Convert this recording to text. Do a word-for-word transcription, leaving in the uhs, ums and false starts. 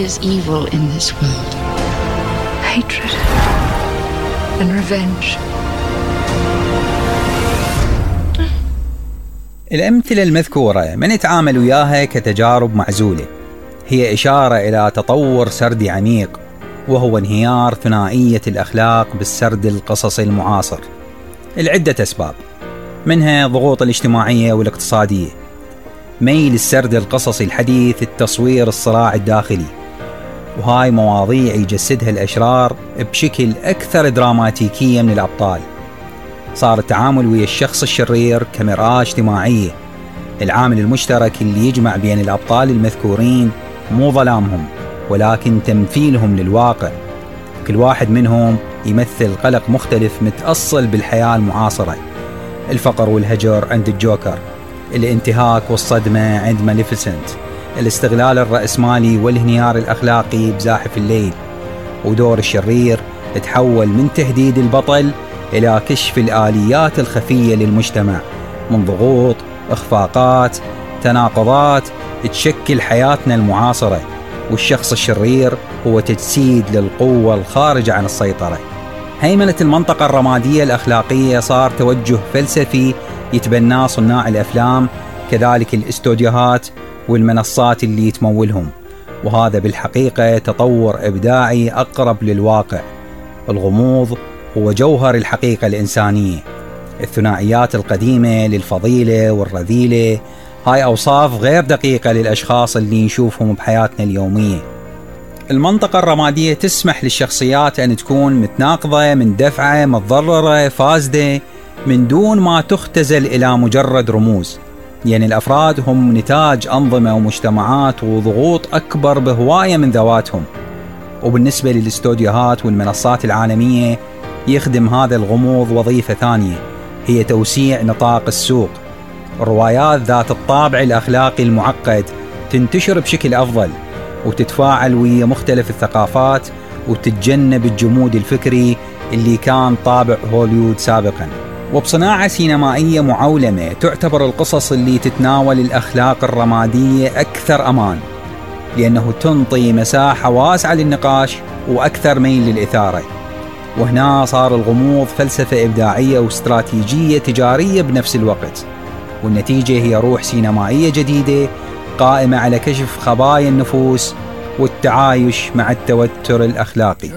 is evil in this world. Hatred and revenge. الأمثلة المذكورة من يتعامل وياها كتجارب معزولة هي إشارة إلى تطور سردي عميق، وهو انهيار ثنائية الأخلاق بالسرد القصصي المعاصر لعدة أسباب، منها الضغوط الاجتماعية والاقتصادية، ميل السرد القصصي الحديث التصوير الصراع الداخلي، وهاي مواضيع يجسدها الأشرار بشكل أكثر دراماتيكية من الأبطال. صار التعامل ويا الشخص الشرير كمرآة اجتماعية، العامل المشترك اللي يجمع بين الأبطال المذكورين مو ظلامهم ولكن تمثيلهم للواقع، كل واحد منهم يمثل قلق مختلف متأصل بالحياة المعاصرة. الفقر والهجر عند الجوكر، الانتهاك والصدمة عند ماليفيسنت، الاستغلال الرأسمالي والانهيار الأخلاقي بزاحف الليل، ودور الشرير تحول من تهديد البطل إلى كشف الآليات الخفية للمجتمع من ضغوط، إخفاقات، تناقضات تشكل حياتنا المعاصرة. والشخص الشرير هو تجسيد للقوة الخارجة عن السيطرة. هيمنة المنطقة الرمادية الأخلاقية صار توجه فلسفي يتبناه صناع الأفلام، كذلك الاستوديوهات والمنصات اللي تمولهم، وهذا بالحقيقة تطور إبداعي أقرب للواقع. الغموض هو جوهر الحقيقة الإنسانية. الثنائيات القديمة للفضيلة والرذيلة هاي أوصاف غير دقيقة للأشخاص اللي نشوفهم بحياتنا اليومية. المنطقة الرمادية تسمح للشخصيات أن تكون متناقضة، من دفعة، متضررة، فاسدة، من دون ما تختزل إلى مجرد رموز. يعني الأفراد هم نتاج أنظمة ومجتمعات وضغوط أكبر بهواية من ذواتهم. وبالنسبة للاستوديوهات والمنصات العالمية يخدم هذا الغموض وظيفة ثانية، هي توسيع نطاق السوق. الروايات ذات الطابع الأخلاقي المعقد تنتشر بشكل أفضل وتتفاعل ويا مختلف الثقافات وتتجنب الجمود الفكري اللي كان طابع هوليوود سابقا. وبصناعة سينمائية معولمة تعتبر القصص اللي تتناول الأخلاق الرمادية أكثر أمان، لأنه تنطي مساحة واسعة للنقاش وأكثر ميل للإثارة. وهنا صار الغموض فلسفة إبداعية واستراتيجية تجارية بنفس الوقت، والنتيجة هي روح سينمائية جديدة قائمة على كشف خبايا النفوس والتعايش مع التوتر الأخلاقي.